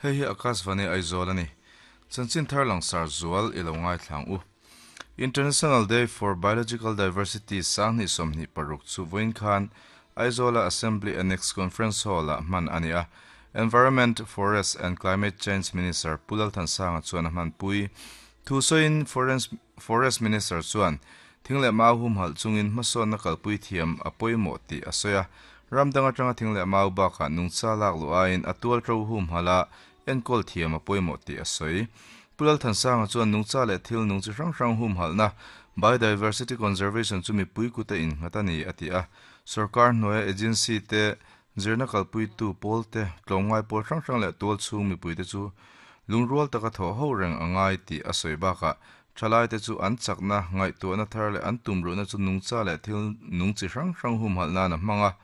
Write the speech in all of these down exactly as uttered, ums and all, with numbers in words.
Hei hi Akashvani Aizawl a ni. Chanchin thar langsar zual i lo ngaithlang u. International Day for Biological Diversity sanghnih sawmhnih paruk chu vawiin khan Aizawla Assembly Annex Conference Hall-ah hman a ni a. Environment, Forest and Climate Change Minister Pu Lalthansanga chuan a hmanpui. Thu sawiin Forest Minister chuan thing leh mau humhalh chungin hmasawnna kalpui thiam a pawimawh tih a sawi a. Ram dang atanga thing leh mau bakah nungcha lak luh aiin a tual ṭo humhalh a enkawl thiam a pawimawh tih a sawi. Pu Lalthansanga chuan nungcha leh thil nung chi hrang hrang humhalhna Biodiversity Conservation chu mipui kut a innghat a ni a ti a. Sorkar hnuaia agency te zirna kalpuitu pawl te tlawmngai pawl hrang hrang leh tual chhung mipuite chu lungrual taka thawh ho reng a ngai tih a sawi bakah thalai te chu an chakna ngaihtuahna thar leh an tumruhna chu nungcha leh thil nung chi hrang hrang humhalh nana hmanga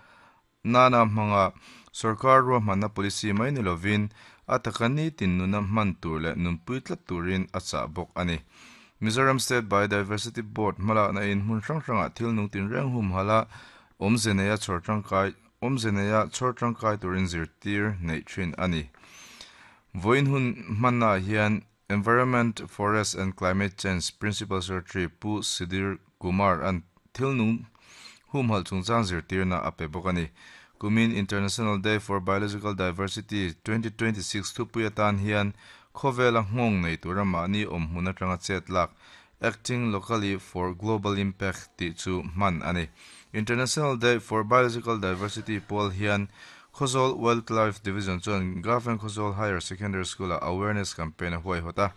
nana hmanga sorkar ruahmanna policy mai ni lovin a taka ni tin nuna hman tur leh nunpui tlat turin a chah bawk a ni. Mizoram State Biodiversity Board hmalakna in hmun hrang hrangah thil nung tin reng humhalh a awmze neia chhawr tangkai awmze neia chhawr tangkai turin zirtir neih thin a ni. Vawiin hun hmannaah hian Environment, Forest and Climate Change Principal Secretary Pu Sudhir Kumar an thil nung humhalh chungchang zirtirna a pe bawk a ni. Kumin International Day for Biological Diversity twenty twenty six thupui atan hian khawvela nghawng nei tura mahni awm hmun atanga chet lak Acting Locally for Global Impact tih chu hman a ni. International Day for Biological Diversity pawl hian Khawzawl Wildlife Division chuan Government Khawzawl Higher Secondary School-ah awareness campaign a huaihawt a.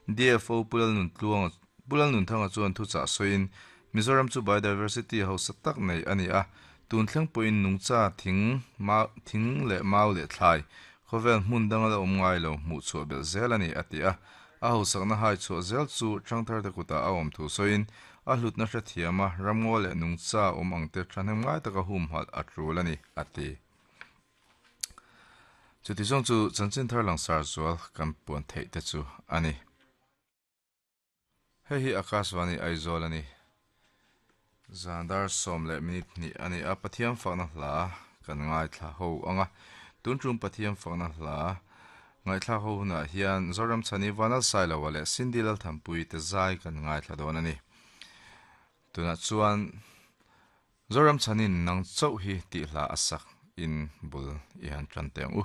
D F O Pu Lalnuntluanga Pu Lalnunthanga chuan thuchah sawiin Mizoram chu biodiversity hausa tak nei a ni a, tun thleng pawhin nungcha thing mau thing leh mau leh thlai khawvel hmun danga la awm ngai lo hmuh chhuah belh zel a ni a ti a. A hausakna hai chhuah zel chu thangthar te kutah a awm thu sawiin a hlutna hrethiam a, ramngaw leh nungcha awm ang te thahnem ngai taka humhalh a tul a ni a ti. Chuti zawng chu chanchin thar langsar zual kan puan theih te chu a ni. Hei hi Akashvani Aizawl a ni. Zandar sawm leh minute hnih a ni a, Pathian fakna hla kan ngaithla ho anga. Tun tum Pathian fakna hla ngaithla ho hunah hian Zoram Chhani Vanal Sailoa leh Cindy Lalthampui te zai kan ngaithla dawn a ni. Tunah chuan Zoram Chhanin nang chauh hi tih hla a sak in bul i han tan teh ang u.